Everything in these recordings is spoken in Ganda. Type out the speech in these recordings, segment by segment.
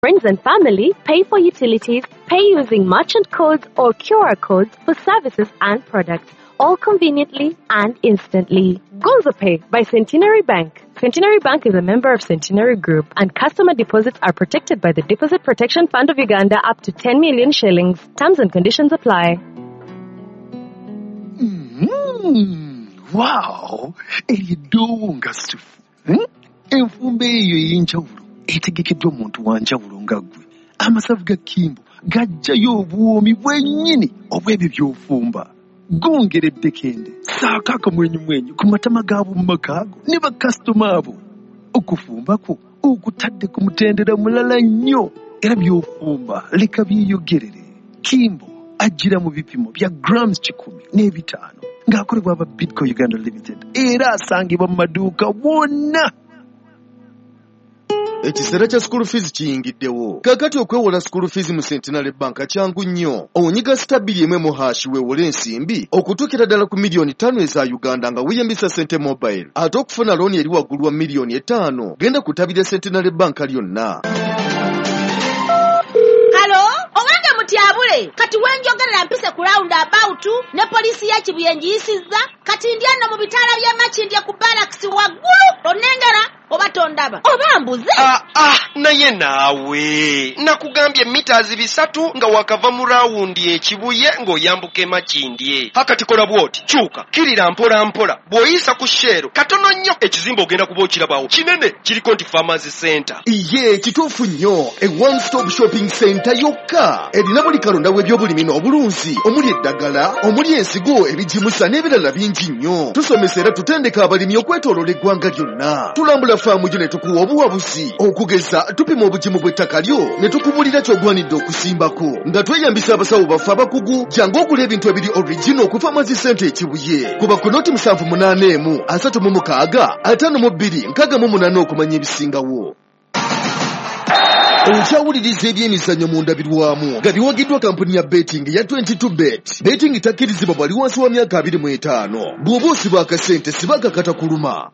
Friends and family, pay for utilities, pay using merchant codes or QR codes for services and products, all conveniently and instantly. GonzoPay by Centenary Bank. Centenary Bank is a member of Centenary Group, and customer deposits are protected by the Deposit Protection Fund of Uganda up to 10 million shillings. Terms and conditions apply. Wow! Eryo eddoowo nga ssufu. Enfumba eyo ey'enjawulo etegekeddwa omuntu wa njawulo nga ggwe. Amasavu ga Kimbo gajjayo obuwoomi bwennyini obw'ebyo by'ofumba. Gongera eddekende, ssaako akamwenyumwenyu ku matama g'ab'omu maka go ne bakasitoma abo. Okufumba kwo okutadde ku mutendera mulala nnyo, era by'ofumba leka byeyogerere. Kimbo ajjira mu bipimo bya grams 105 ng'akolebwa aba Bidco Uganda Limited, era asangibwa mu maduuka wonna. Ekiseera kya school fees kiyingiddewo. Kaakati okwewola school fees mu Centenary Bank kyangu nnyo. Onyiga *211# weewole ensimbi okutuukira ddala ku 5 miliyoni eza Uganda nga weeyambisa Sente Mobile. Ate okufuna looni eri waggulu wa 5 miliyoni, genda ku ttabi lya Centenary Bank lyonna. Hello, owange mutyabule, kati wenjogerera mpise ku round about ne poliisi ya Kibuye ngiyisizza, kati ndi ano mu bitaala by'e Makindye ku barracks waggulu. Onnengera oba tondaba oba mbuze? Ah, ah, naye naawe nakugambye mita 300 nga wakava mu rawundi ekibuye ng'oyambuka emakindye. Hakati kola bw'oti, kyuka kirira mpola mpola, bw'oyisa ku Shell katono nnyo, ekizimbe ogenda kuba okirabawo kinene, kiriko nti Farmers Center. Iye, kituufu nnyo. E one stop shopping center yokka erina buli kalonda w'ebyobulimi n'obulunzi, omuli eddagala, omuli ensigo, ebigimusa n'ebirala bingi nnyo. Tusomesa era tutendeka abalimi okwetooloola eggwanga lyonna. Tulambula faamu gyo ne tukuwa obuwabuzi. Okugeza, tupima obugimu bw'ettaka lyo ne tukubulira ky'ogwanidde okusimbako nga tweyambisa abasawo baffe abakugu. Jangu ogula ebintu ebiri original ku Farmers Center Ekibuye. Kuba ku 0781 36 52 68 okumanya ebisingawo. Okyawuliriza ebyemizannyo mu ndabirwamu nga biwagiddwa kampuni ya betting ya 22 Bet. Betting takkirizibwa bwali wansi wa myaka 25. Bw'oba osiba akasente, siba akakatakuluma.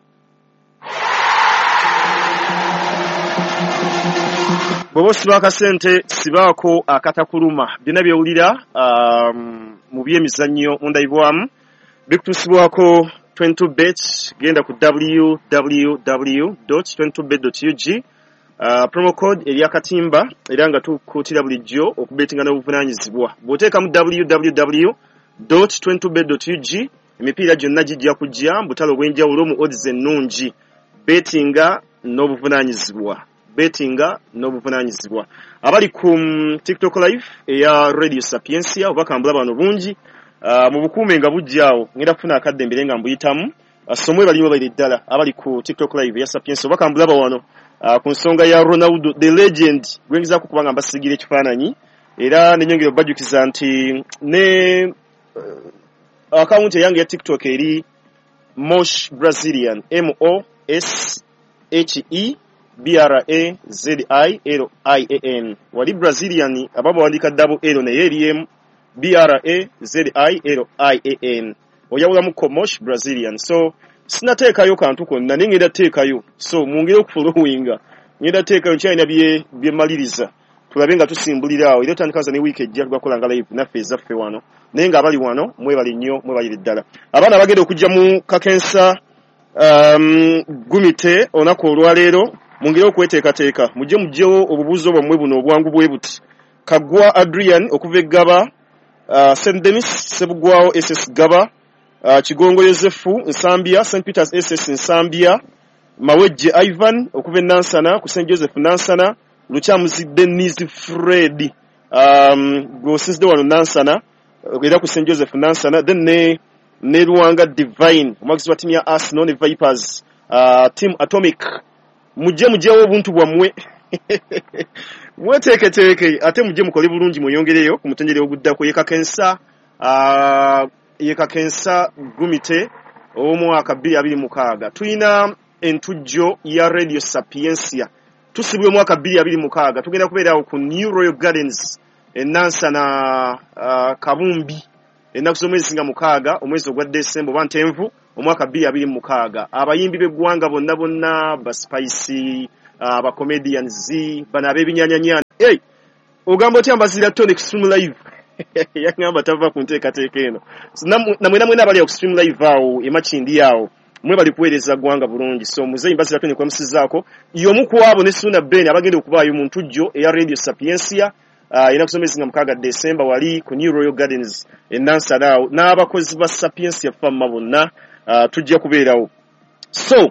Bw'oba osiba akasente, sibaako akatakuluma. Byonna byewulira mu byemizannyo mu ndabirwamu bikutuusibwako 22 Bet. Genda ku www 22bet ug, promo code eri akatimba, era nga tukuutira bulijjo okubetinga n'obuvunaanyizibwa. Bw'oteekamu www 22bet ug, emipiira gyonna gijja kujja mu butale obw'enjawulo mu odds ennungi. Betinga n'obuvunaanyizibwa, betinga n'obuvunaanyizibwa. Abali ku TikTok live eya Radio Sapientia, obubaka mbulaba bano bungi, mu bukuume nga bujja awo, ngenda kufuna akadde mbere nga mbuyitamu. So mwebali, mwebali ddala abali ku TikTok live eya Sapientia. Obubaka mbulaba wano ku nsonga ya Ronaldo the legend, gwengezaako kubanga mbasigira ekifaananyi, era nenyongera obajjukiza nti ne akawunti eyange ya TikTok eri Mosh Brazilian, M O S H E B R A Z I L I A N. Wali Brazilian aba bawandiika double L, naye eri M B R A Z I L I A N, oyawulamuko Mosh Brazilian. So sinateekayo kantu konna, naye ngenda teekayo, so mwongere okufollowinga. Ngenda teekayo, nkyalina bye byemaliriza, tulabe nga tusimbulira awo, era otandikaza ne wiiki ejja tugakola nga live naffe ezaffe wano. Naye nga abali wano mwebale nnyo, mwebalire ddala. Abaana abagenda okujja mu kakensa gumite olunaku olwaleero, mwongere okweteekateeka, mujje mugyewo obubuuzo bwammwe buno obwangu bwe buti. Kaggwa Adrian okuva eggaba, St Denis Sebugwawo SS Gaba, Kigongo Yosefu Nsambya, St Peters SS Nsambya, Mawejje Ivan okuva e Nansana ku St Joseph Nansana, Lukyamuzi Denis Fred, gweosinzidde wano Nansana era ku St Joseph Nansana, then ne Luwanga Divine, omwagizi wa ttiimu ya Arsenal ne Vipers, Team Atomic. Mujje mugyewo obuntu bwammwe, mweteeketeeke, ate mujje mukole bulungi, mweyongereyo ku mutendera oguddako. Yekakensa yekakensa gumite ow'omwaka 2026. Tulina entujjo ya Radio Sapientia, tusibwa omwaka 2026. Tugenda kubeerawo ku New Royal Gardens enansana, Kabumbi, ennaku z'omwezi nga 6, omwezi ogwa Desemba oba Ntenvu, omwaka 2026. Abayimbi b'eggwanga bonna bonna, ba Spice, Aba comedians bano ab'ebinyanyanyana. Hey, ogamba otya Mbazira Tony ku Stream Live? Yagamba tava ku nteekateeka eno. So, namwe namwe abali ku Stream Live awo emakindi awo, mwe bali kuweereza ggwanga bulungi. So muzeeyi Mbazira Tony kwamusizaako y'omu ku abo ne Suna Ben abagenda okubaayo mu ntujjo eya Radio Sapientia erina kusomesa nga 6 December wali ku New Royal Gardens e Nansana awo, n'abakozi ba Sapientia Fama bonna tujja kubeerawo. So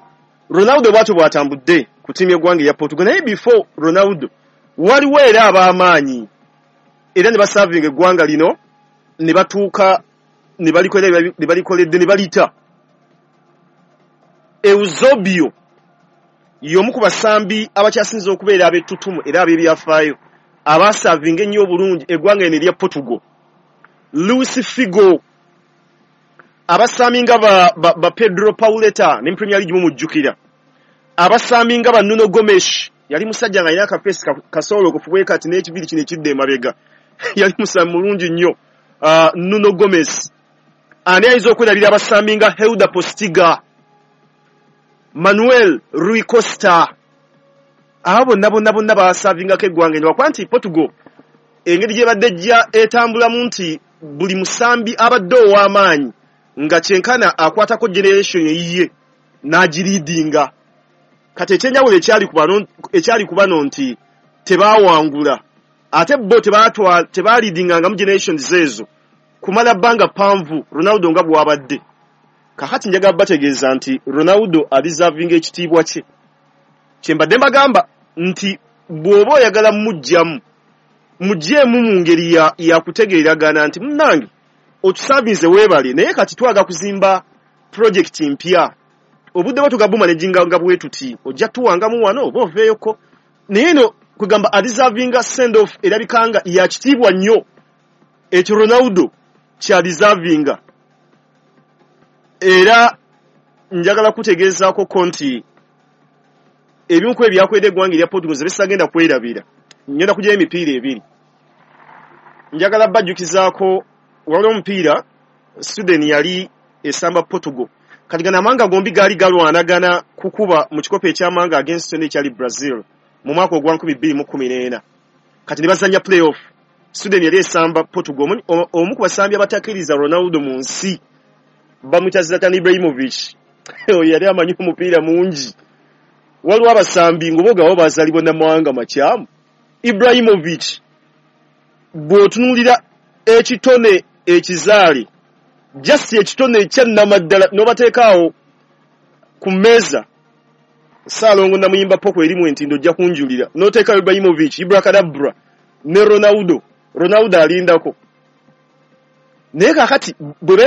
Ronaldo bw'atyo bw'atambudde ku ttiimu y'eggwanga eya Portugal. Naye before Ronaldo waliwo era ab'amaanyi era ne basavinga eggwanga lino ne batuuka ne balikolera ne balikoledde ne balita. Eusebio y'omu ku basambi abakyasinze okubeera ab'ettutumu era ab'ebyafaayo abaasavinga ennyo obulungi eggwanga lino erya Portugal. Luis Figo, abasambi nga ba Pedro Pauleta ne Premier League mumujjukira, abasambi nga ba Nuno Gomes, yali musajja nga alina akafeesi kasoolo okufuwe kati n'ekibiri kino ekidda emabega, yali musambi mulungi nnyo Nuno Gomes. Ani ayinza okwerabira abasambi nga Helder Postiga, Manuel Rui Costa? Abo bonna bonna bonna baasavingako eggwanga eno, lwakuba nti Portugal engeri gy'ebadde ejja etambulamu nti buli musambi abadde ow'amaanyi nga kyenkana akwatako generation eyiye n'agiriidinga. Kati ekyenjawulo ekyali ku bano nti tebaawangula, ate bo tebaaliidingangamu generations ezo kumala bbanga ppanvu Ronaldo nga bw'abadde. Kakati njagala bategeeza nti Ronaldo alizavinga ekitiibwa kye. Kyembadde mbagamba nti bw'oba oyagala mmuggyamu, muggyeemu mu ngeri ya kutegeeragana nti munnange otusavinze weebale, naye kati twagala kuzimba projekiti mpya, obudde bwe tugabuma ne jinga bwe tuti ojja tuwangamu wano oba oveeyoko. Naye eno kugamba alizavinga send off erabika nga ya kitiibwa nnyo, ekyo Ronaldo kyalizavinga. Era njagala kutegeezaako ko nti ebimu ku ebyakwedde eggwanga erya Portugal ze bisagenda kwerabira. Ngenda kugyayo emipiira ebiri, njagala bajjukizaako waliwo omupiira Sweden yali esamba Portugal. Kati gano amawanga gombi gaali galwanagana kukuba mu kikopo eky'amawanga ag'ensi yonna ekyali Brazil mu mwaka ogwa 2014. Kati ne bazannya playoff, Sweden yali esamba Portugal. Omu ku basambi abatakkiriza Ronaldo mu nsi bamuyita Zlatan Ibrahimovic. Oyo yali amanyi omupiira mungi. Waliwo abasambi ng'obogawo bazaalibwa n'amawanga makyamu. Ibrahimovic bw'otunuulira ekitone ekizaale, just ekitone ekyannamaddala n'obateekaawo ku mmeeza, Ssaalongo Namuyimba Poko erimu entindo ojja kunjulira, n'oteekayo Ibrahimovic, Ibracadabra ne Ronaldo, Ronaldo alindako. Naye kaakati bwe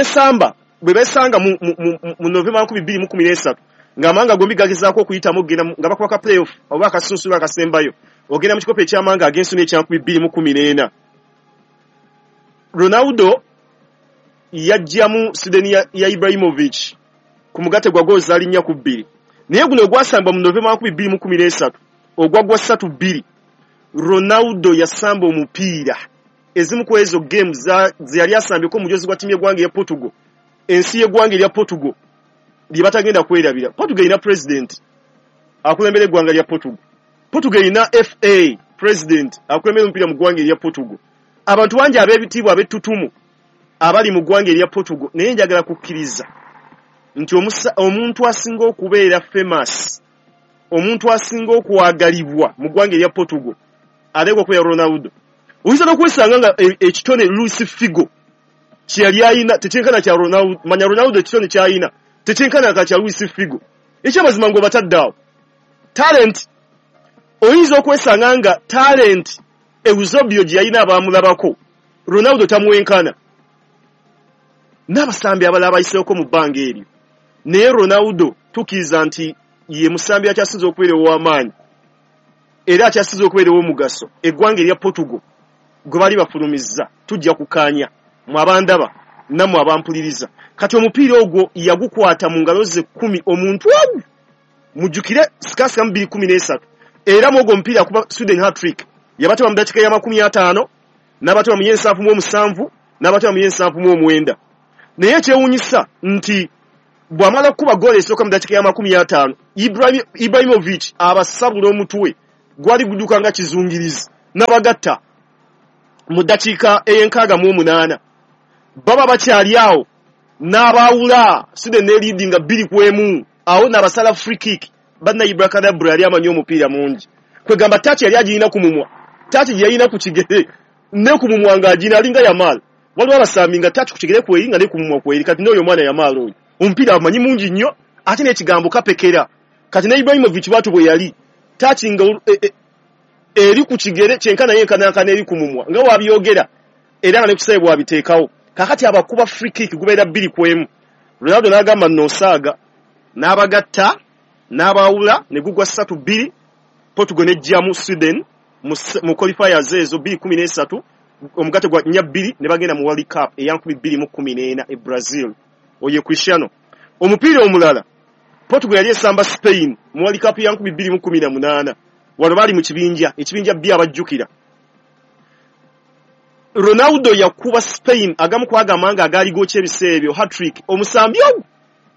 beesanga mu Novemba 2013 ng'amawanga gombi gagezaako okuyitamu okugenda nga bakuba ka playoff oba akasunsulu akasembayo ogenda mu kikopo eky'amawanga ag'ensi n'ekya 2014, Ronaldo yaggyamu Sweden ya Ibrahimovic ku mugatte gwa goals zaali 4-2. Naye guno ogwasambwa mu Novemba 2013 ogwaggwa 3-2, Ronaldo yasamba omupiira ezimu ku ezo game ze yali asambyeko omujozi gwa ttiimu y'eggwanga eya Portugal, ensi y'eggwanga erya Portugal lye batagenda kwerabira. Portugal erina president akulembera eggwanga lya Portugal, Portugal erina FA president akulembera omupiira mu ggwanga erya Portugal. Abantu bangi ab'ebitiibwa ab'ettutumu abali mu ggwanga erya Portugal, naye njagala kukkiriza nti omuntu asinga okubeera famous, omuntu asinga okwagalibwa mu ggwanga erya Portugal ateekwa okubeera Ronaldo. Oyinza n'okwesanga nga ekitone Luis Figo kye yali ayina tekyenkana kya Ronaldo, manya Ronaldo ekitone ky'ayina tekyenkana ka kya Luis Figo. Ekyamazima ng'obatadde awo talent, oyinza okwesanga nga talent Eusebio gye yalina abaamulabako Ronaldo tamwenkana n'abasambi abalala abayiseeko mu bbanga eryo. Naye Ronaldo tukkiriza nti ye musambi akyasinze okubeera ow'amaanyi era akyasinze okubeera ow'omugaso eggwanga erya Portugal gwe bali bafulumizza. Tujja kukkaanya mwe abandaba nammwe abampuliriza. Kati omupiira ogwo yagukwata mu ngalo ze 10 omuntu ogu, mujjukire sikasika mu 2013, era mu ogwo omupiira akuba Sweden hat-trick, yabateba mu ddakiika ya 50, n'abateba mu y'ensanvu mu omusanvu, n'abateba mu y'ensanvu mu omwenda. Naye ekyewuunyisa nti Bw'amala okukuba ggoolo esooka mu ddakiika ya 50, Ibrahimovic abasabula omutwe gwali gudduka nga kizungirizi n'abagatta mu ddakiika ey'e68. Baba bakyali awo n'abaawula Sweden n'eleadinga 2-1. Awo n'abasala free kick. Banna Ibracadabra yali amanyi omupiira mungi. Kwegamba touch yali agirina ku mumwa, touch gye yalina ku kigere ne ku mumwa ng'agina alinga Yamal. Waliwo abasambi nga touch ku kigere kweri nga ne ku mumwa kweri. Kati n'oyo omwana Yamal oyo omupiira amanyi mungi nnyo, ate n'ekigambo kapekera. Kati ne Ibrahimovic bw'atyo bwe yali touch nga eri ku kigere kyenkana yenkanankana eri ku mumwa nga wabyogera era nga ne kusaye bw'abiteekawo. Kakati abakuba free kick gubeera 2-1. Ronaldo n'agamba nno osaaga n'abagatta n'abaawula ne gugwa 3-2. Portugal n'eggyamu Sweden mu qualifiers ezo 2013, omugatte gwa 4-2 ne bagenda mu World Cup eya 2014 e Brazil. Oye Cristiano. Omupiira omulala, Portugal yali esamba Spain mu World Cup ya 2018. Wano baali mu kibinja, ekibinja B abajjukira. Ronaldo yakuba Spain agamu kwagamba nga agaali gookya ebiseera ebyo hat-trick, omusambi ogwo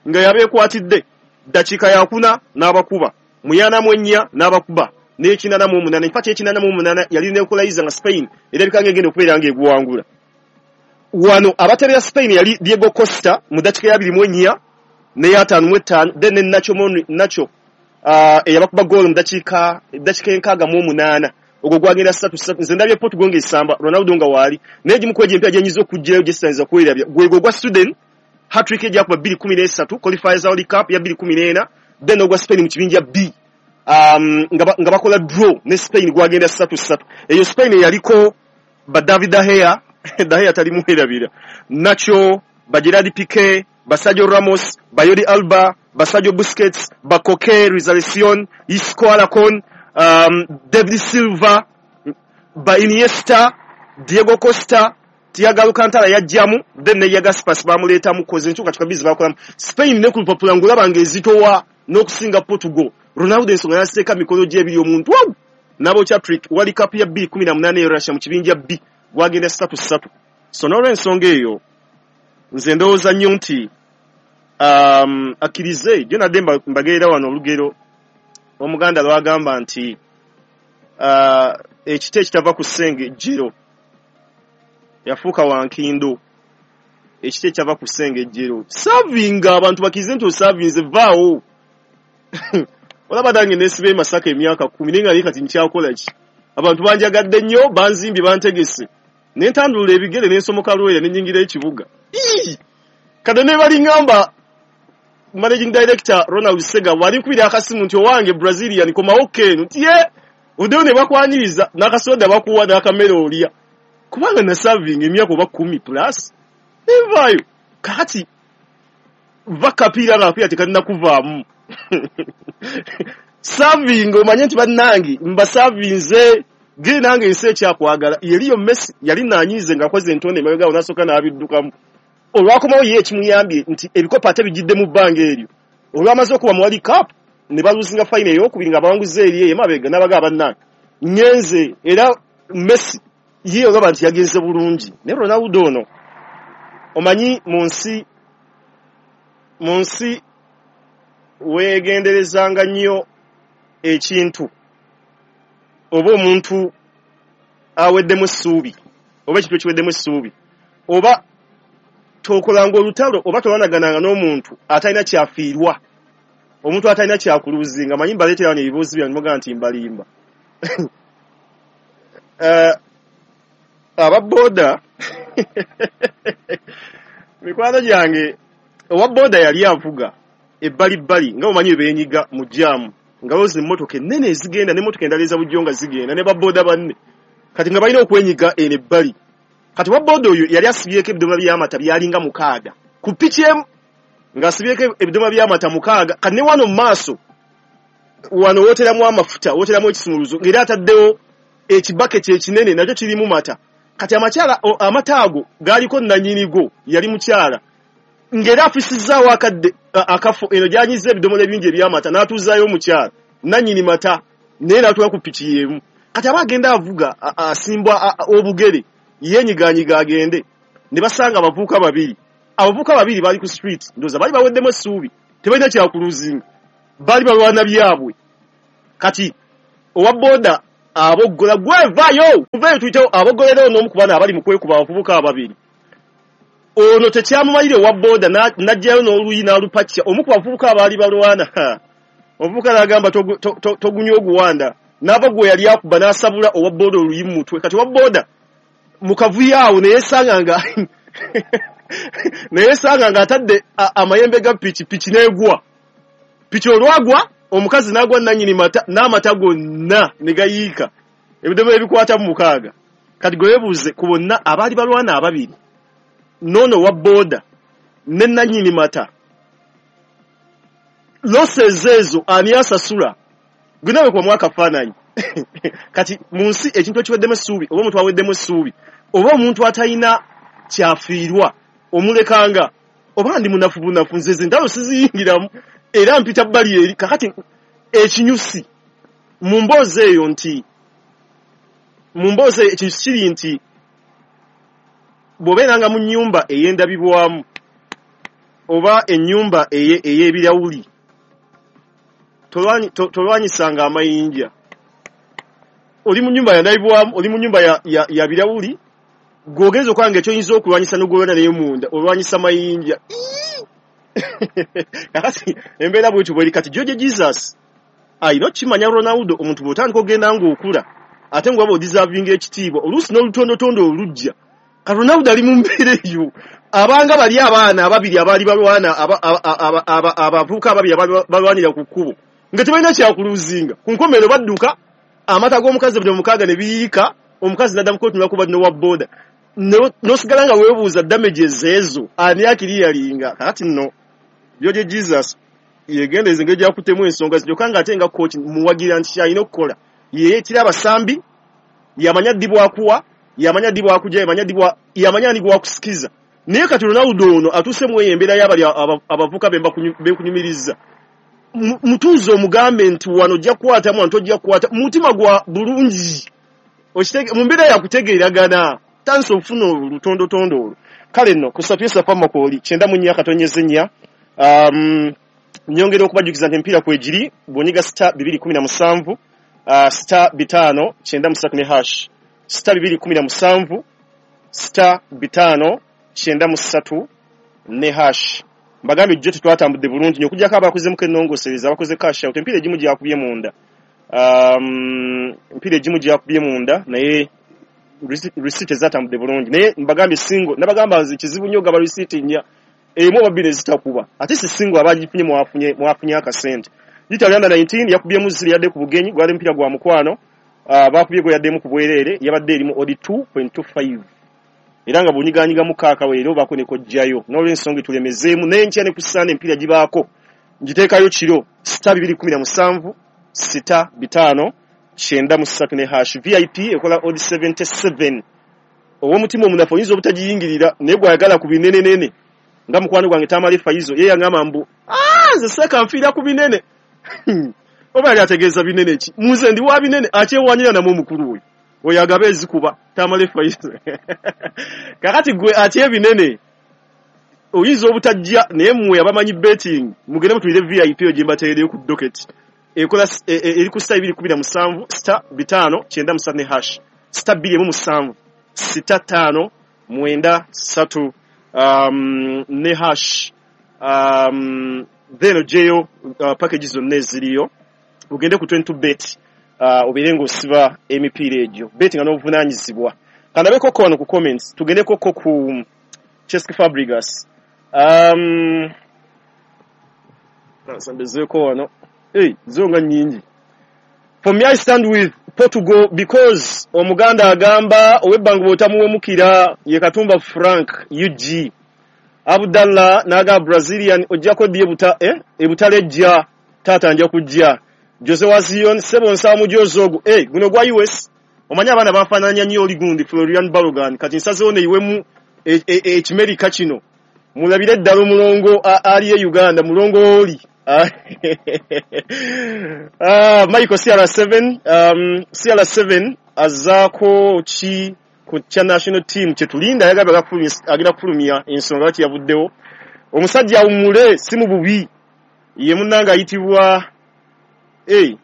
nga yabeekwatidde ddakiika yakuna n'abakuba mu 44 n'abakuba n'e88. In fact e88 yali n'equalizer nga Spain erabika ng'egenda okubeera ng'eguwangula. Wano abatebera Spain yali Diego Costa mu ddakiika ya 24 n'ey55, then ne Nacho Monreal Nacho eyabakuba goal mu ddakiika 68. Ogwo gwagenda 3-3. Nze ndabye Portugal ng'esamba Ronaldo nga waali, naye egimu ku egyo empya gye nyinza okuggyirayo gye sitayinza kwerabya gwegwo ogwa Sweden hat-trick egyakuba 2013 qualifiers World Cup ya 2014, then ogwa Spain mu kibinja B nga bakola draw ne Spain gwagenda 3-3. Eyo Spain eyaliko ba David De Gea, De Gea talimwerabira, Nacho, ba Gerard Piqué, ba Sergio Ramos, ba Jordi Alba, ba Sergio Busquets, ba Koke Rizalison, Isco Alarcon, David Silva, ba Iniesta, Diego Costa, Thiago Alcantara yajjamu, then ne Iago Aspas bamuleetamu koze enkyukakyuka bizi bakolamu. Spain ne ku lupapula ng'olaba ng'ezitowa n'okusinga Portugal. Ronaldo ensonga yaziteeka mikono gye ebiri omuntu wawu n'abokya trick. World Cup ya 2018 e Russia mu kibinja B gwagenda 3-3. So n'olw'ensonga eyo nze ndowooza nnyo nti akkirize gyo nadde mbagerera wano olugero Omuganda lwagamba nti ekiti ekitava ku ssengejjero yafuuka wankindo. Ekiti ekyava ku ssengejjero savinga abantu bakkirize nti osavinze vaawo. Olaba nange nesiba e Masaka emyaka 10 naye nga naye kati nkyakola ki? Abantu banjagadde nnyo, banzimbye, bantegese, ne ntandulula ebigere ne nsomoka Lwera ne nnyingira ekibuga. Kati ne baliŋŋamba managing director Ronald Sega wali nkubira akasimu nti owange Brazilian komawo keeno nti ye oddeyo ne bakwaniriza n'akasoda bakuwa n'akamere olya kubanga nasavinga emyaka oba 10 plus nenvaayo. Kakati va kapiira nga akapiira tekalina kuvaamu savinga omanye nti bannange mbasavinze giri nange ensi ekyakwagala. Yeriyo Messi yali nanyiize ng'akoze entonde emabega awo n'asooka n'abiddukamu. Olwakomawo ye ekimuyambye nti ebikopo ate bijjidde mu bbanga eryo olwamaze okuba mu World Cup ne baluzinga final ey'okubiri nga bawanguza eri eyo emabega n'abagamba bannange ngenze. Era Messi ye olaba nti yagenze bulungi, naye Ronaldo ono omanyi mu nsi weegenderezanga nnyo ekintu oba omuntu aweddemu essuubi oba ekintu ekiweddemu essuubi oba tokolanga olutalo oba tolwanagananga n'omuntu atalina kyafiirwa, omuntu atalina kyakuluzinga. Manyi mbaleetera wano ebibuuzi byange mugamba nti mbalimba. Aba boda mikwano gyange, owa boda yali avuga ebbalibbali nga omanyi beenyiga mu jaamu nga bozi emmotoka ennene ezigenda n'emmotoka endala eza bulijjo nga zigenda ne baboda banne, kati nga balina okwenyiga eno ebbali. Kati wa boda oyo yali asibyeko ebidomola by'amata byalinga 6 ku piki emu, ng'asibyeko ebidomola by'amata 6. Kati ne wano mu maaso wano wooteramu amafuta, wooteramu ekisumuluzo, ng'era ataddewo ekibaketi ekinene nakyo kirimu mata. Kati amakyala amata ago gaaliko nnannyinigo yali mukyala ng'era afisizaawo akadde akafo eno gy'anyiza ebidomola ebingi eby'amata n'atuuzaayo omukyala nannyini mata naye n'atuula ku piki y'emu. Kati aba agenda avuga asimbwa obugere yeenyigaanyiga agende ne basanga abavubuka babiri Abavubuka babiri bali ku street, ndowooza baali baweddemu essuubi, tebalina kyakuluzinga, baali balwana byabwe. Kati owa boda aboggola, gwe vaayo, muveeyo tuyitewo, aboggolera ono omu ku bano abali mu kwekuba abavubuka ababiri. Ono tekyamumalire owa boda n'aggyayo n'oluyi n'alupakya omu ku bavubuka abaali balwana. Omuvubuka n'agamba togunywa oguwanda, n'ava gwe yali akuba n'asabula owa boda oluyi mu mutwe. Kati owa boda mu kavuyo awo ne yeesanga nga atadde amayembe ga piki, piki n'egwa. Piki olwagwa omukazi n'agwa nannyini mata n'amata gonna ne gayiika, ebidomola ebikwata mu mukaaga. Kati gwe weebuuze ku bonna abaali balwana ababiri, n'ono owa boda ne nannyini mata, losses ezo ani asasula? Gwe nawe kubamu akafaananyi. Kati mu nsi ekintu ekiweddemu essuubi, oba omuntu aweddemu essuubi, oba omuntu atalina kyafiirwa omulekanga, oba ndi munafu bunafu, nze ze ntalo siziyingiramu era mpita bbali eri. Kakati ekinyusi mu mboozi eyo nti, mu mboozi eyo ekinyusi kiri nti bw'obeeranga mu nnyumba ey'endabibwamu oba ennyumba ey'ebirawuli, tolwanyisanga amayinja. Oli mu nnyumba yandabibwamu, oli mu nnyumba ya birawuli, gw'ogenza okulaba nga ekyoyinza okulwanyisa n'ogolwana naye munda, olwanyisa mayinja. Kakati embeera bwetyo bweri. Kati George Jesus alina okukimanya Ronaldo, omuntu bw'otandika ogenda ng'okula ate ng'waba odisavinga ekitiibwa, oluusi n'olutondotondo olujja. Ka Ronaldo ali mu mbeera eyo, abanga bali abaana ababiri abaali balwana, abavubuka ababiri abaali balwanira ku kkubo nga tebalina kyakuluzinga, ku nkomerero badduka amata g'omukazi buli mukaaga ne biyiika, omukazi n'addamu kwetunula kuba n'owa boda, n'osigala nga weebuuza damages ezo ani akiriyalinga. Kakati nno George Jesus yegendereza engeri gy'akuttemu ensonga zino, kyokka ng'ate nga coach muwagira nti ky'alina okukola, yeeyitira abasambi, yamanya ddi bw'akuwa, yamanya ddi bw'akugya, yamanya ani gw'akusikiza. Naye kati Ronaldo ono atuuse mu eyo embeera y'abali abavubuka be nkunyumiriza, mutuuze omugambe nti wano ojja kukwatamu, wano tojja kukwata, mu mutima gwa bulungi, mu mbeera yakutegeeragana, tandise okufuna olutondotondo olwo. Kale nno ku Sapientia Pharmacy 94.4, nyongera okubajjukiza nti emipiira kwegiri, bw'onyiga star 217, star 5 93 ne hash, star 217, star 5 93 ne hash. Mbagambye jjo tetwatambudde bulungi nnyo, okuggyako abakozemuko ennongoosereza, abakoze cash out, emipiira egimu gyakubye munda, emipiira egimu gyakubye munda, naye receipt ezatambudde bulungi. Naye mbagambye single, nabagamba nze kizibu nnyo ogaba receipt nnya, emu oba bbiri ezitakuba, ate si single abagifunye mwafunye akasente. Italy under 19 yakubyemu ziri yadde ku bugenyi, gwali mupiira gwa mukwano, bakubye gwe yaddemu ku bwereere, yabadde erimu odi 2.25, era nga bw'onyiganyigamu kaakaweero obaako ne kojjayo. N'olw'ensonga tulemezeemu n'enkya ne ku Ssande emipiira gibaako, ngiteekayo kiro star 217, star 5 93 ne hash. VIP ekola odi 77. Ow'omutima omunafu oyinza obutagiyingirira, naye gw'ayagala ku binenenene nga mukwano gwange Tamale Faizo, ye yangamba mbu nze seeka nfiira ku binene. Oba yali ategeeza binene ki? Nze ndi wa binene, akyewanyira namwe omukulu oyo. Oyo agaba ezikuba Tamale Faizo. Kakati gwe atya ebinene oyinza obutajja, naye mmwe abamanyi betting mugende mutulire VIP eyo gye mbateereyo ku docket. Ekola eri ku star 217, star 5 93 ne hash, star 217, star 5 93 ne hash. Then oggyeyo package zonna eziriyo, ogende ku 22 bet, obeere ng'osiba emipiira egyo, bet nga n'obuvunaanyizibwa. Kandabekoko wano ku comments, tugendekoko ku Cesc Fabregas. Nsambezeeko wano. Hey, zo nga nnyingi. For me I stand with Portugal because Omuganda agamba ow'ebbanga bw'otamuwemukira ye Katumba Frank UG. Abdallah n'agamba Brazilian ojjako ddi ebutalejja taata nja kujja. Jose wa Zion sebo nsaba mujozi ogwo. Guno gwa US. Omanyi abaana bafaananya nnyo oli gundi Florian Balogun. Kati nsazeewo neyiwemu ekimerika kino. Mulabire ddala omulongo ali e Uganda, mulongo oli. Michael CR7, CR7 azaako ki ku kya national team kyetulinda, yagambye agenda kufulumya ensonga lwaki yavuddewo. Omusajja awummule si mu bubi. Ye munnange ayitibwa ye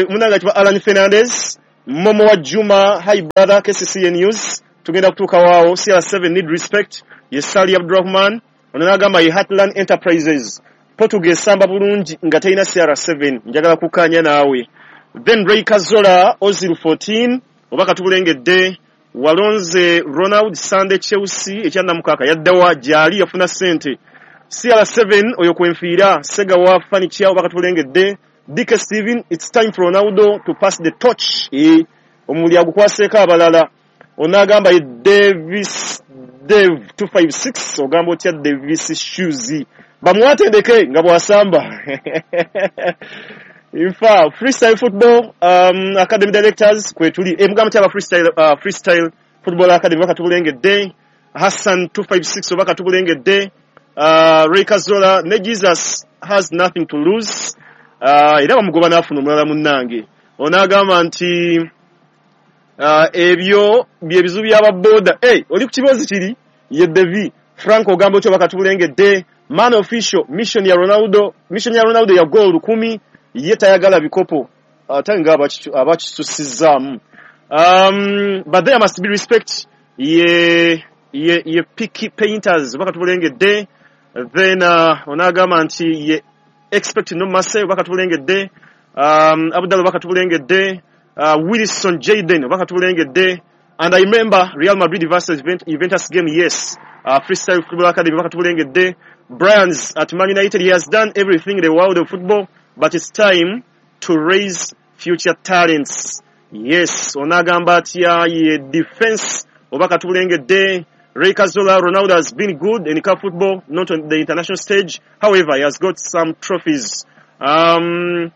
munnange ayitibwa Alan Fernandez. Momo wa Juma, hi brother, KCCA News, tugenda kutuuka waawo. CR7 need respect, ye Sali Abdurrahman. Ono n'agamba ye Heartland Enterprises, Portugal esamba bulungi nga terina CR7, njagala kukkaanya naawe. Then Ray Kazola Ozil 14, oba katubulengedde. Walonze Ronald Sunday Chelsea ekyannamukaka yaddawa gyali yafuna ssente. CR7 oyo kwenfiira. Sega wa Furniture, oba katubulengedde. DK Steven, it's time for Ronaldo to pass the torch, omuli agukwaseeko abalala. Onaagamba ye Davis Dave 256, ogamba otya Davis Shoes, bamuwatendeke nga bw'asamba. Infa Freestyle Football Academy Directors kwetuli, mugamba kyaba Freestyle Football Academy bakatubulengedde. Hassan 256 oba katubulengedde. Ray Kazola ne Jesus has nothing to lose, era bamugoba n'afuna omulala munnange. Onaagamba nti ebyo byebizibu by'ababoda. Oli ku kiboozi kiri ye Devi Frank, ogamba otyo bakatubulengedde. Man official, mission ya Ronaldo, mission ya Ronaldo ya goal 10, ye tayagala bikopo ate nga abakisusizaamu. But there must be respect, ye Peaky Painters bakatubulengedde. Then onaagamba nti ye expect no mercy bakatubulengedde. Abdallah bakatubulengedde. Wilson Jaden bakatubulengedde. And I remember Real Madrid versus Juventus game, yes. Freestyle Football Academy bakatubulengedde. Bryans at Man United, he has done everything in the world of football, but it's time to raise future talents. Yes, onagamba atya ye defense oba katubulengedde. Ray Kazola, Ronaldo has been good in cup football, not on the international stage. However, he has got some trophies. Man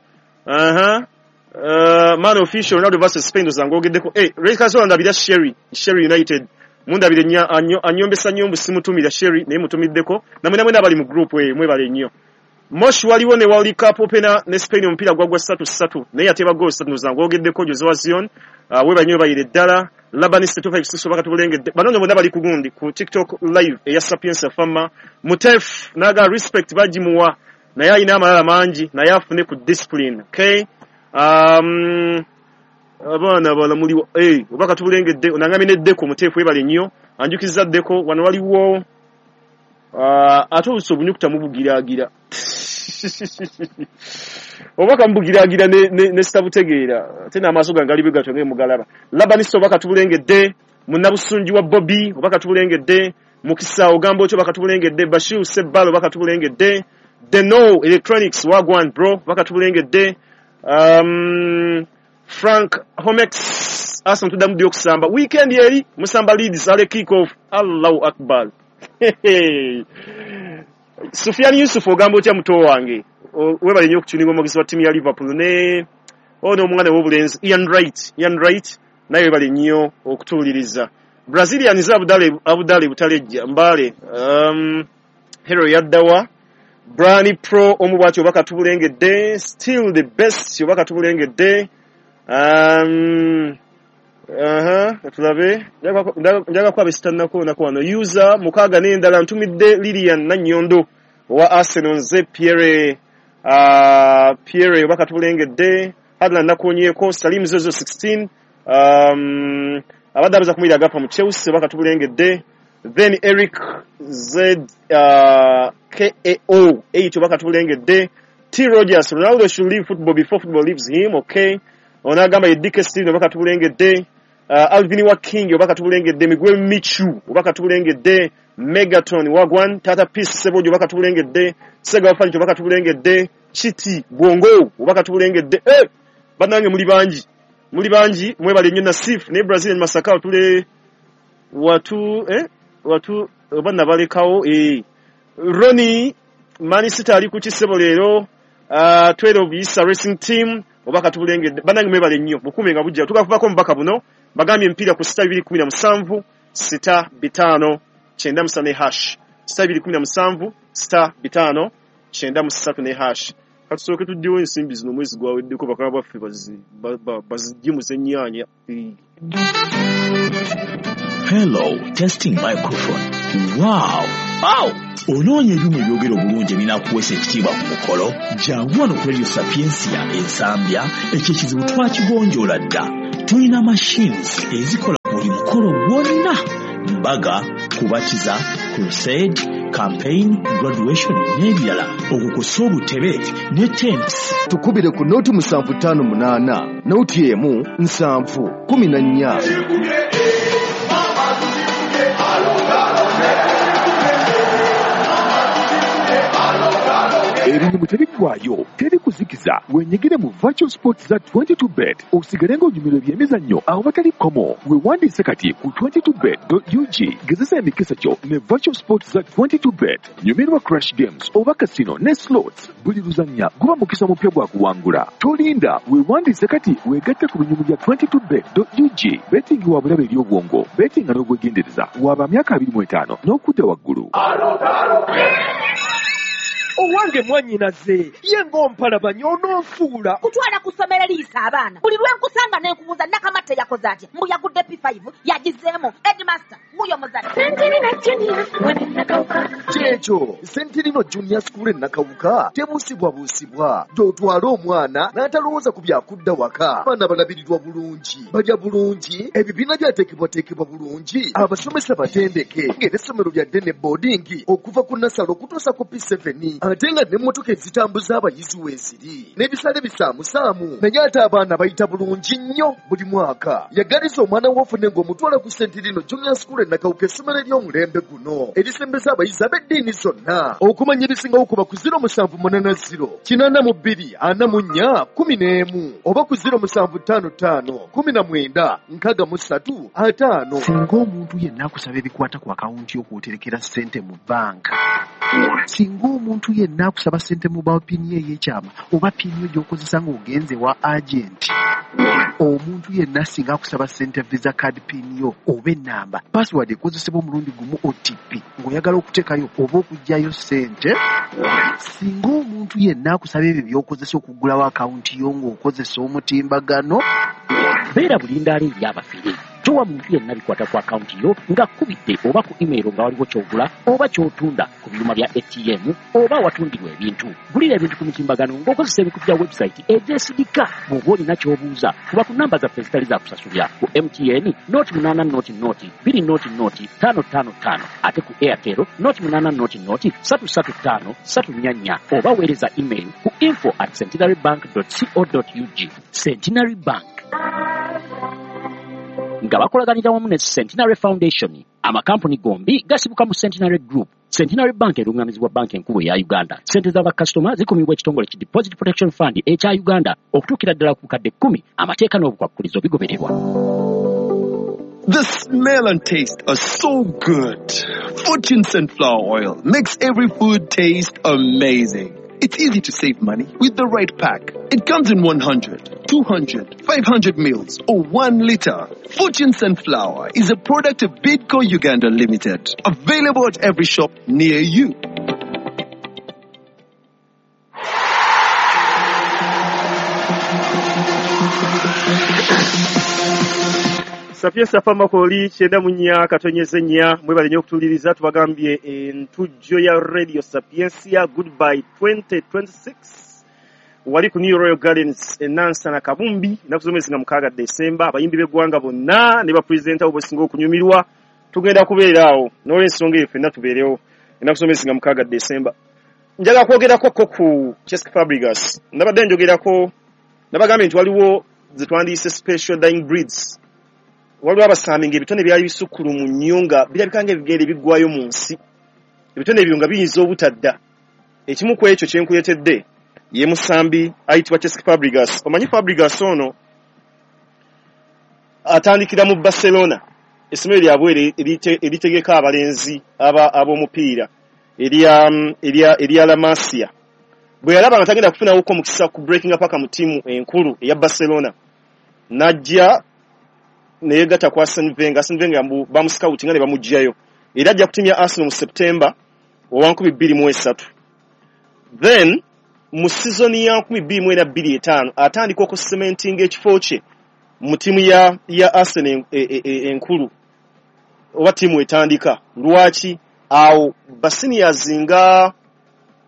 official, Ronaldo versus Spain ozangogeddeko. Ray Kazola ndabira Sherry United. Mundabire anyombesa nnyo mbu simutumira Sherry, naye mutumiddeko. Namwe namwe n'abali mu group mwebale nnyo. Mosh waliwo ne World Cup opener ne Spain omupiira gwagwa 3-3, naye yateeba goal 3 ozangogeddeko. Jose wa Zion, webale nnyo bayire ddala. Labaniste 256 bakatubulengedde. Bano nno bonna bali ku gundi ku TikTok live eya Sapientia Fama. Mutef naga respect bagimuwa, naye alina amalala mangi, naye afune ku discipline. Okay, abaana bala muliwo oba katubulengedde. Onangamye ne Deko Mutefu, webale nnyo anjukiza Deko. Wano waliwo ate oluusi obunyukuta mubugiraagira oba kamubugiraagira ne sitabutegeera, ate n'amaaso gange gali bwe gatyo nga mugalaba. Labanista oba katubulengedde. Munnabusungi wa Bobby oba katubulengedde. Mukisa ogamba otyo bakatubulengedde. Bashir Sebbalo oba katubulengedde. Deno Electronics wagwan bro bakatubulengedde. Frank Homex Arsenal tuddamu ddi okusamba weekend eri musamba Leeds ale kick off. Allahu Akbar. Sufian Yusuf ogamba otya muto wange, webale nnyo okutuninga omwogezi wa ttiimu ya Liverpool ne ono omwana w'obulenzi Ian Wright naye webale nnyo okutuwuliriza. Brazilians Abudale Butalejja Mbale, Hero yaddawa. Brani Pro omu bw'atyo oba katubulengedde. Still the best oba katubulengedde. Tulabe njaga kuba besitannako nako wano user mukaaga n'endala. Ntumidde Lilian Nannyondo owa Arsenal, nze Pierre oba katubulengedde. Hadlan nakonyeeko. Salim Zozo 16, abadde abuza kumuyira agafa mu Chelsea oba katubulengedde. Then Eric Z KAO 8 oba katubulengedde. T Rogers, Ronaldo should leave football before football leaves him. Okay, onagamba ye DK Steven oba katubulengedde. Alvin wa King oba katubulengedde. Miguel Michu oba katubulengedde. Megaton Wagwan Tata Peace Sebojo oba katubulengedde. Sega Wafanyi oba katubulengedde. Chiti Bwongo oba katubulengedde. Bannange muli bangi mwebale nnyo. Nasif ne Brazilian Masaka tule watu oba nabalekawo. Ronnie Man City ali ku kisebo leero. 12 Isa Racing Team oba katubulengedde. Bannange mwebale nnyo, bukume nga bujja tukavubako mubaka buno. Bagambye emipiira ku *217 *5 93 ne hash *217 *5 93 ne hash. Katusooke tuddewo ensimbi zino omwezi gwaweddeko, bakama baffe baziggye mu z'ennyaanya. Hello, testing microphone. Wow! Aw! Onoonya ebyuma ebyogera obulungi ebinaakuweesa ekitiibwa ku mukolo? Jangu wano ku Radio Sapientia Ensambya, ekyo ekizibu twakigonjoola dda. Tulina machines ezikola buli mukolo gwonna. Mbaga, kubatiza, crusade, campaign, graduation n'ebirala. Okwo kw'ossa obutebe ne tents. Tukubire ku noti 758 noti 1 7 14. Ebinyumu tebiggwayo, teri kuzikiza. Wenyigire mu virtual sports za 22bet osigale ng'onyumirwa ebyemizannyo awatali kkomo. Weewandiise kati ku 22bet.ug. Gezesa emikisa gyo ne virtual sports za 22bet. Nyumirwa crash games oba casino ne slots. Buli luzannya guba mukisa mupya gwa kuwangula. Tolinda, weewandiise kati weegatte ku binyumu bya 22bet.ug. Betting wa bulabe eri obwongo, bettinga n'obwegendereza. Waba myaka 25 n'okudda waggulu. Owange mwannyinaze ye ng'ompalabanya ononsuula. Kutwala ku ssomero liyisa abaana. Buli lwe nkusanga ne nkubuuza Nakamatte yakoze atya? Mbu yagudde P5 yagizeemu. Headmaster wuuyo muzadde. Kyekyo Sentinino Junior School e Nakawuka tebuusibwabuusibwa. Gy'otwala omwana n'atalowooza ku byakudda waka. Abaana balabirirwa bulungi, balya bulungi, ebibiina byateekebwateekebwa bulungi, abasomesa batendeke, ng'era essomero lya ddene boarding okuva ku nasale okutuusa ku P7, ate nga n'emmotoka ezitambuza abayizi weeziri n'ebisale bisaamusaamu, naye ate abaana bayita bulungi nnyo buli mwaka. Yagaliza omwana wo ofune ng'omutwala ku Sentinino Junior School e Nakawuka, essomero ery'omulembe guno erisembeza abayizi ab'eddiini zonna. Okumanya ebisingawo kuba ku 0780 82 44 11 oba ku 0755 19 63 5. Singa omuntu yenna akusaba ebikwata ku akawunti y'okwoterekera ssente mu banka, singa omuntu yenna akusaba ssente mu mobile pin ye ey'ekyama oba pin yo gy'okozesa ng'ogenze wa agenti, omuntu yenna singa akusaba ssente visa card pin yo oba ennamba, password ekozesebwa omulundi gumu OTP ng'oyagala okuteekayo oba okuggyayo ssente, singa omuntu yenna akusaba ebyo by'okozesa okuggulawo akawunti yo ng'okozesa omutimbagano, beera bulindaala eri abafere. Towa muntu yenna bikwata ku akawunti yo ng'akubidde oba ku email nga waliwo ky'ogula oba ky'otunda ku byuma bya ATM oba awatundirwa ebintu. Gulira ebintu ku mitimbagano ng'okozesa ebikutu bya website egyesigika. Bw'oba olina ky'obuuza kuba ku namba zaffe ezitali za kusasulira ku MTN 0800 200 555, ate ku Airtel 0800 335 344, oba weereza email ku info@centenarybank.co.ug. Centenary Bank nga bakolaganira wamu ne Centenary Foundation. Amakampuni gombi gasibuka mu Centenary Group. Centenary Bank erungamizibwa banka enkulu eya Uganda. Ssente z'abakasitoma zikumibwa ekitongole ki Deposit Protection Fund ekya Uganda okutuukira ddala ku bukadde 10. Amateeka n'obukwakkulizo bigobererwa. The smell and taste are so good. Fortune Sunflower Oil makes every food taste amazing. It's easy to save money with the right pack. It comes in 100, 200, 500 mils or 1 liter. Fortune Sunflower is a product of Bidco Uganda Limited. Available at every shop near you. Sapientia Famakoli 94.4 mwebale nnyo okutuwuliriza. Tubagambye entujjo ya Radio Sapientia Goodbye 2026 wali ku New Royal Gardens e Nansana Kabumbi ennaku z'omwezi nga 6 Desemba. Abayimbi b'eggwanga bonna ne bapulezidenti abo bosinga okunyumirwa tugenda kubeera awo, n'olwensonga eyo ffenna tubeerewo ennaku z'omwezi nga 6 Desemba. Njagala kwogerako ko ku Cesc Fabregas. Nabadde njogerako nabagambye nti waliwo ze twandiyise special dying breeds. Waliwo abasambi ng'ebitone byali bisukkulumu nnyo nga birabika ng'ebigere biggwayo mu nsi, ebitone ebyo nga biyinza obutadda. Ekimu ku ekyo kye nkuleetedde ye musambi ayitibwa Cesc Fabregas. Omanyi Fabregas ono atandikira mu Barcelona, essomero lyabwe eritegeka abalenzi ab'omupiira erya La Masia. Bwe yalaba nga tagenda kufunawoko mukisa ku breaking paka mu ttiimu enkulu eya Barcelona, n'ajja neyegatta ku Arsene Wenger. Arsene Wenger bamuscoutinga ne bamuggyayo, era ajja kutimya Arsenal mu September owa 2023. Then mu season ya 2024 atandika okucementinga ekifo kye mu ttiimu ya Arsenal enkulu. Oba ttiimu etandika. Lwaki? Awo baseniors nga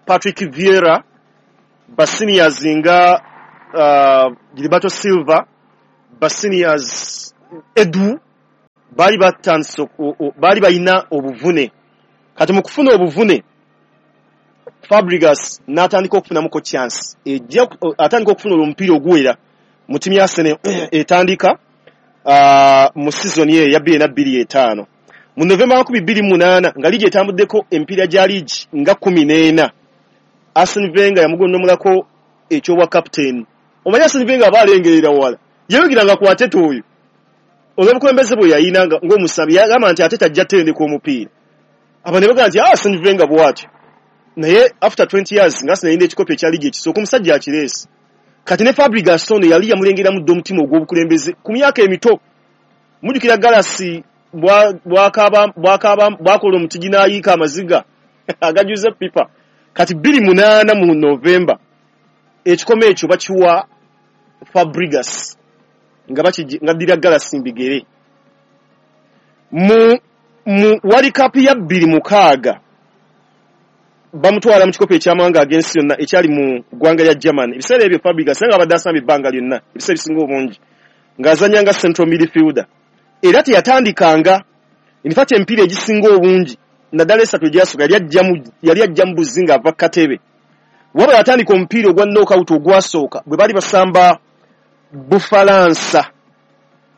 Patrick Vieira, baseniors nga Gilberto Silva, baseniors Edu, baali batandise, baali balina obuvune. Kati mu kufuna obuvune, Fabregas n'atandika okufunamuko chance, ejja atandika okufuna omupiira oguwera mu ttiimu ya Arsenal etandika mu season ye eya 2025. Mu Novemba 2008, nga liigi etambuddeko emipiira gya liigi nga 14, Arsene Wenger yamugonnomolako ekyobwa captain. Omanyi Arsene Wenger aba alengerera wala, yeeyogera ku Arteta oyo olw'obukulembeze bwe yayina ng'omusambi. Yagamba nti Arteta ajja tendeka omupiira. Aba ne bagamba nti Arsene Wenger bw'atyo, naye after 20 years nga Arsenal yayina ekikopo ekya liigi ekisooka, omusajja akireese. Kati ne Fabregas ono yali yamulengeramu dda omutima ogw'obukulembeze ku myaka emito. Mujjukira Galasi bwakola omutigi n'ayiika amaziga agajuza pipa. Kati 2008 mu November, ekikomo ekyo bakiwa Fabregas nga nga ddira Galasi mbigere. Mu World Cup ya 2006, bamutwala mu kikopo ekyamawanga ag'ensi yonna ekyali mu ggwanga lya Germany. Ebiseera ebyo Fabregas nga abadde asamba ebbanga lyonna, ebiseera ebisinga obungi ng'azannya nga central midfielder, era teyatandikanga. In fact, emipiira egisinga obungi, naddala esatu egyasooka, yali ajjamu buzzi ng'ava katebe. Wabula yatandika omupiira ogwa knockout ogwasooka bwe baali basamba Bufalansa,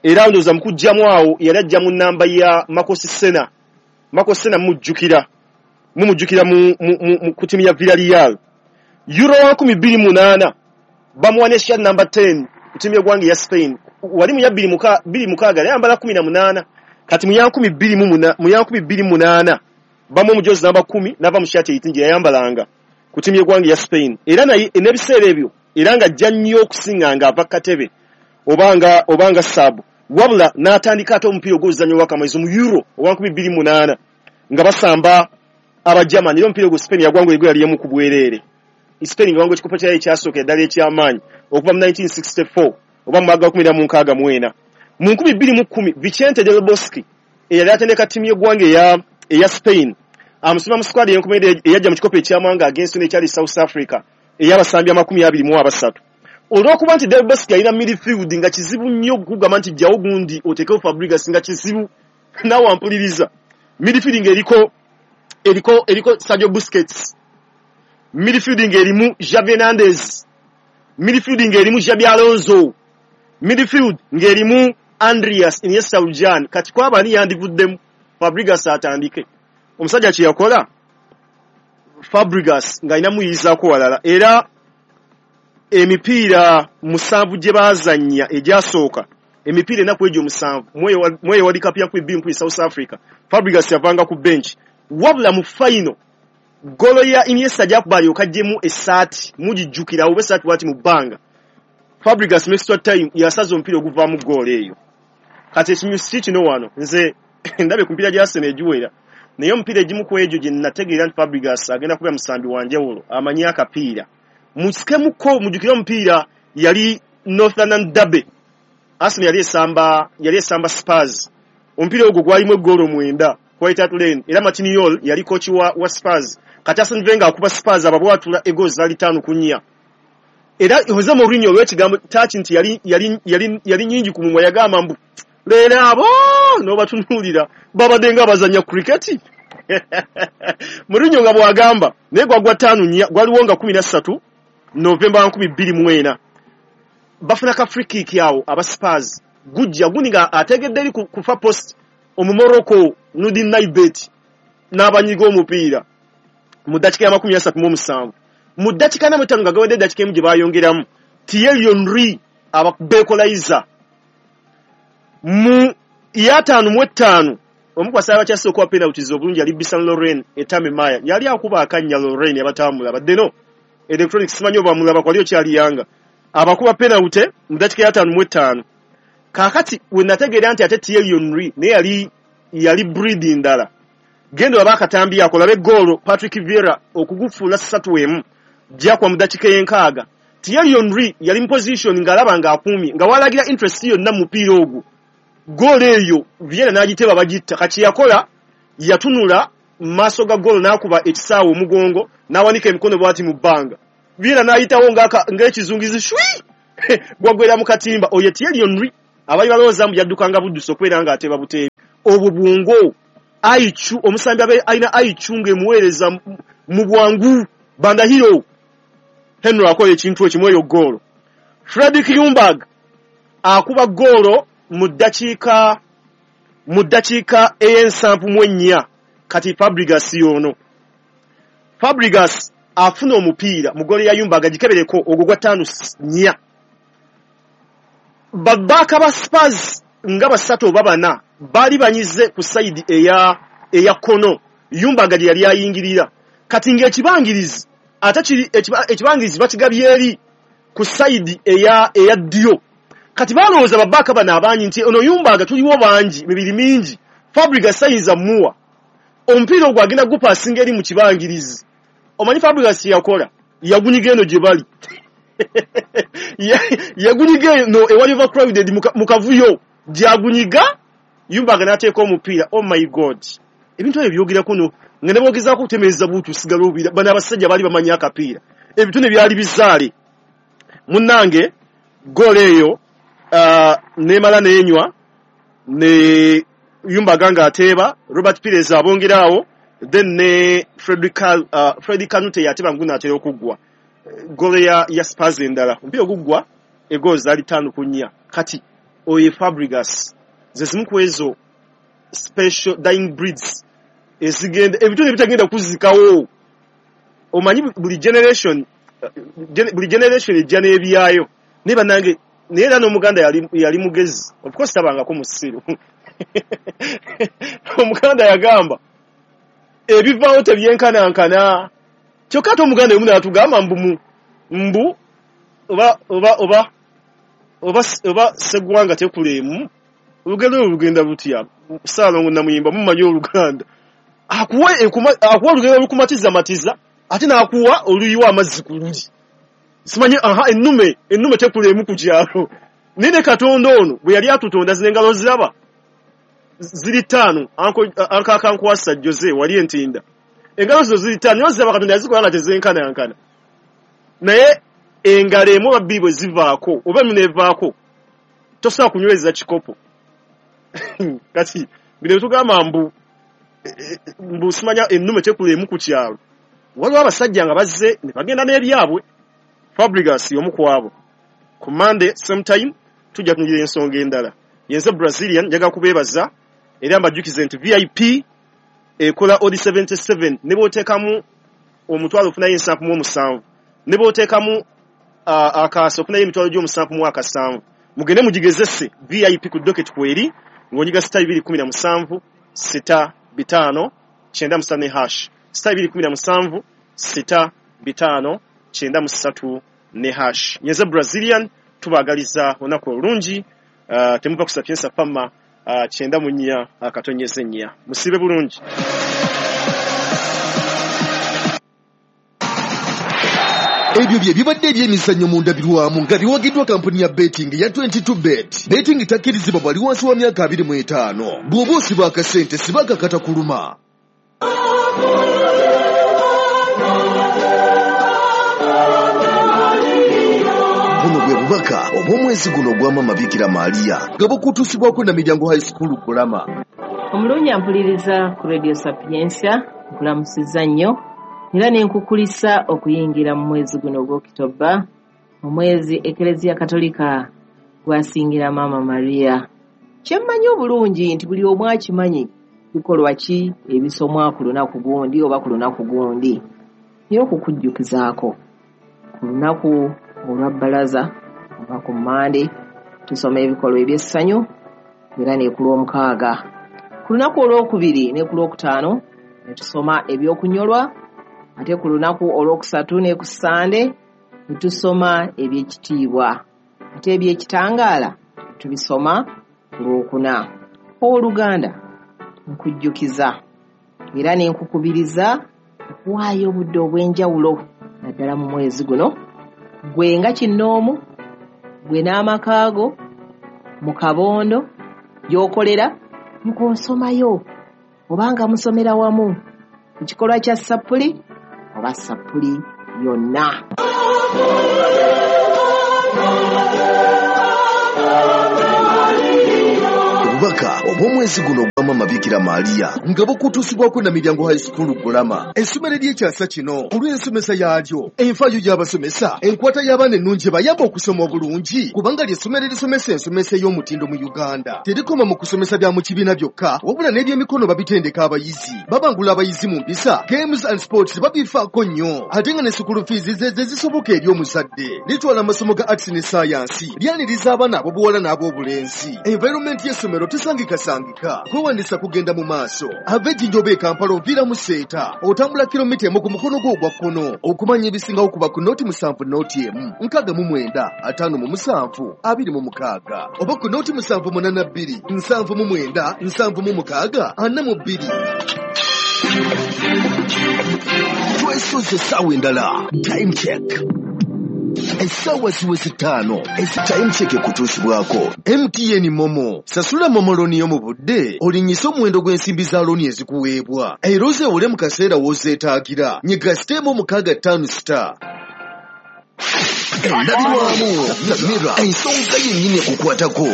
era ndowooza mu kujjamu awo yali ajja mu namba ya Marcos Senna. Marcos Senna mujjukira, mumujjukira mu ku ttiimu ya Villarreal. Euro wa 2008, bamuwa ne shirt number 10 ku ttiimu y'eggwanga eya Spain. Wali mu ya 2006 yali ayambala 18. Kati mu ya 2008 bamuwa omujozi namba 10, n'ava mu shirt 18 gye yayambalanga ku ttiimu y'eggwanga eya Spain. Era naye n'ebiseera ebyo era nga ajja nnyo okusinga nga ava katebe obanga sub. Wabula n'atandika ate omupiira ogw'oluzannya olw'akamalizo mu Euro owa 2008 nga basamba Abagermany. Era omupiira ogwo Spain yagwangula egwe yali emu ku bwereere. Spain nga wangula ekikopo kyayo ekyasooka eddala eky'amaanyi okuva mu 1964 oba mu mwaka 1964. Mu 2010, Vicente del Bosque eyali atendeka ttiimu y'eggwanga eya Spain amusima mu squad ey'enkomerero eyajja mu kikopo ekyamawanga ag'ensi n'ekyali South Africa ey'abasambi 23. Olw'okuba nti Del Bosque yalina midfield nga kizibu nnyo okugamba nti jjawo gundi oteekewo Fabregas, nga kizibu. Naawe ampuliriza, midfield ng'eriko eriko Sergio Busquets, midfield ng'erimu Xavi Hernandez, midfield ng'erimu Xabi Alonso, midfield ng'erimu Andreas Iniesta Lujan. Kati kwaba ani yandivuddemu Fabregas atandike? Omusajja kye yakola, Fabregas ng'alina muyizaako walala, era emipiira 7 gye baazannya egyasooka, emipiira enaku egyo 7 mweyo World Cup ya 2010 South Africa, Fabregas yavanga ku bench. Wabula mu final, golo ya Iniesta gyakuba alyoka aggyemu essaati, mugijjukira oba essaati bwati mu bbanga, Fabregas mu extra time yasaza omupiira oguvaamu goolo eyo. Kati ekinyusi si kino wano, nze ndabye ku mipiira gya Arsenal egiwera, naye omupiira egimu ku egyo gye nategeera nti Fabregas agenda kubeera musambi wa njawulo amanyi akapiira, musikemuko. Mujjukire omupiira yali North London Derby, Arsenal yali esamba Spurs. Omupiira ogwo gwalimu eggoolo 9 White Hart Lane, era Martin Jol yali coach wa Spurs. Kati Arsene Wenger akuba Spurs, ababwatula egoolo zaali 5-4. Era Jose Mourinho olw'ekigambo touch nti yali nyingi ku mumwa, yagamba mbu leero abo n'obatunuulira babadde nga bazannya cricket. Mourinho nga bw'agamba, naye gwagwa 5-4. Gwaliwo nga 13 Novemba 2004. Bafuna ka free kick awo aba Spurs, gujja gundi nga ategedde eri ku far post, Omumorocco Nordin Naybet n'abanyiga omupiira mu ddakiika ya 37. Mu ddakiika 45 nga gawedde eddakiika emu gye bayongeramu, Thierry Henry ababekolaiza. Mu ya 55, omu ku basaayi abakyase okuba penalties obulungi yali Bisan Loren Etame Maya, yali akuba akannya. Loren abatamulaba ddeno electronics, simanyi oba mulaba kwali okyali yanga, abakuba penalty mu ddakiika ya 55. Kaakati we nategeera nti ate Thierry Henry naye yali breed ndala. Genda olaba akatambi ako, olabe goolo Patrick Vieira okugufuula 3-1 gyakuba mu ddakiika ey'enkaaga. Thierry Henry yali mu position ng'alaba ng'akuumye, nga walagira interest yonna mu mupiira ogwo. Goolo eyo Vieira n'agiteeba bagitta. Kati yakola yatunula mu maaso ga goolo n'akuba ekisaawe omugongo n'awanika emikono bw'ati mu bbanga. Vieira n'ayitawo ng'ekizungizi shwi gwagwera mu katimba. Oyo Thierry Henry abali balowooza mbu yaddukanga buddusi okubeera ng'ateeba buteebi. Obwo bwongo IQ, omusambi abe alina IQ ng'emuweereza mu bwangu. Bandahiro Henry akola ekintu ekimu eyo goolo. Fredrik Ljungberg akuba goolo mu ddakiika ey'ensanvu mu ennya. Kati Fabregas y'ono. Fabregas afuna omupiira mu goolo ya Ljungberg, agikebereko ogwo gwa 5-4. Babbaaka ba Spurs nga basatu oba bana baali banyize ku side eya kkono Ljungberg gye yali ayingirira. Kati ng'ekibangirizi ate kiri ekibangirizi bakigabye eri ku side eya ddyo. Kati balowooza babbaaka bano abangi nti ono Ljungberg tuliwo bangi, mibiri mingi, Fabregas ayinza muwa omupiira ogwo, agenda gupaasinga eri mu kibangirizi. Omanyi Fabregas kye yakola? Yagunyiga eno gye bali, yagunyiga eno ewali overcrowded mu kavuyo gyagunyiga. Ljungberg n'ateeka omupiira. Oh my God, ebintu ebyo byogerako no nga ne boogezaako okutemeeza buutu osigala obira. Bano abasajja baali bamanyi akapiira, ebitone byali bizaale. Munnange, goolo eyo nemala nenywa ne Ljungberg ng'ateeba, Robert Pires abongeraawo, then ne Freddy Kanute yateeba ngunaatera okuggwa. Goolo ya Spurs endala, omupiira oguggwa egoolo zaali 5-4. Kati oyo Fabregas ze zimu ku ezo special dying breeds ezigenda, ebitone bitagenda kuzikawo. Omanyi buli generation ejja n'ebyayo. Naye bannange, naye era n'Omuganda yali mugezi, of course tabangako musiru. Omuganda yagamba ebivaawo tebyenkanankana. Kyokka ate Omuganda emu n'atugamba mbu mbu oba seggwanga tekuleemu. Olugendo olwo lugenda lutya? Saalongo Namuyimba, mumanyi Oluganda, akuwa olugendo olukumatizamatiza ate n'akuwa oluyiwa amazzi ku luli. Simanyi, aha, ennume tekuleemu ku kyalo. Naye ne Katonda ono bwe yali atutonda, zino engalo ziraba ziri ttaano. Ankakankwasa Jose wali entinda, engalo zino ziri ttaano, naye ziraba Katonda yazikola nga tezenkanankana. Naye engalo emu oba bbiri bwe zivaako oba emu nevaako, tosobola kunyweza kikopo. Kati bino tugamba mbu simanya ennume tekuleemu ku kyalo. Waliwo abasajja nga bazze ne bagenda n'ebyabwe. Fabregas y'omu ku abo. Ku Monday same time tujja kunyira ensonga endala. Yenze Brazilian, njagala kubeebaza era mbajjukize nti VIP ekola odi 77, ne bw'oteekamu 500 ofunayo 77, ne bw'oteekamu akaasa ofunayo 7,700. Mugende mugigezese VIP ku docket kweri ng'onyiga *217 6 5 93 ne hash, *217 6 5 93 ne hash. Nyenze Brazilian, tubaagaliza olunaku olulungi. Temuva ku Sapienza Fama 94.4. Musibe bulungi. Ebyo bye bibadde ebyemizannyo mu ndabirwamu nga biwagiddwa kampuni ya betting ya 22 Bet. Betting takkirizibwa bwali wansi wa myaka 25. Bw'oba osiba akasente, siba akakata kuluma. Buno bwe bubaka obw'omwezi guno ogwa Mama Bikira Maria nga bukutuusibwako na Miryango High School Kulama. Omulungi ampuliriza ku Radio Sapiensia, nkulamusizza nnyo era ne nkukulisa okuyingira mu mwezi guno ogw'Okitoba, omwezi Ekereziya Katolika gwasingira Maama Maria. Kyemmanyi obulungi nti buli omu akimanyi bikolwa ki ebisomwa ku lunaku gundi oba ku lunaku gundi, naye okukujjukizaako ku lunaku olwa bbalaza oba ku Mmande tusoma ebikolwa eby'essanyu, era ne ku Lwomukaaga, ku lunaku olwokubiri ne ku Lwokutaano ne tusoma ebyokunyolwa, ate ku lunaku olwokusatu ne ku Ssande ne tusoma ebyekitiibwa, ate ebyekitangaala tubisoma ku Lwokuna. Owooluganda, nkujjukiza era ne nkukubiriza okuwaayo obudde obw'enjawulo naddala mu mwezi guno, gwe nga kinnoomu, gwe n'amaka go mu kabondo. Gy'okolera ng'osomayo obanga musomera wamu mu kikolwa kya sappuli oba sappuli yonna. Obubaka obw'omwezi guno ogwa Maama Bikira Maria nga bukutuusibwako Namiryango High School Gulama, essomero ery'ekyasa kino olw'ensomesa yaalyo, enfaayo y'abasomesa, enkwata y'abaana ennungi ebayamba okusoma obulungi, kubanga ly'essomero erisomesa ensomesa ey'omutindo mu Uganda. Terikoma mu kusomesa bya mu kibiina byokka, wabula n'ebyemikono babitendeka abayizi, babangula abayizi mu mpisa, games and sports babifaako nnyo, ate nga ne school fees ze zisoboka eri omuzadde. Litwala amasomo ga arts ne science, lyaniriza abaana ab'obuwala n'ab'obulenzi. Environment y'essomero tesangikasangika, kwewandisa kugenda mu maaso. Ava Ejjinja oba e Kampala oviira mu Seeta, otambula kilomita 1 ku mukono gwo ogwa kkono. Okumanya ebisingawo kuba ku 07 01 69 57 26 oba ku 0782 79 76 42. Twesoze essaawa endala. Time check. Essaawa ziweze 5. Time check ekutuusibwako MTN Momo. Sasula Momo looni yo mu budde, olinnyise omuwendo gw'ensimbi za looni ezikuweebwa, era ozeewole mu kaseera w'ozeetaagira. Nyiga *656*. Endabirwamu Samira, ensonga yennyini ekukwatako.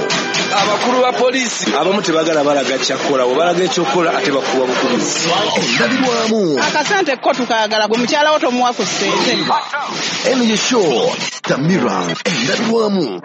Abakulu ba poliisi abamu tebagala balaga kyakukola, bwe ekyokukola ate bakuwa bukubizi. Endabirwamu akasente ko tukaagala, gwe mukyala wo tomuwa ku ssente. Eno ye show Samira, endabirwamu.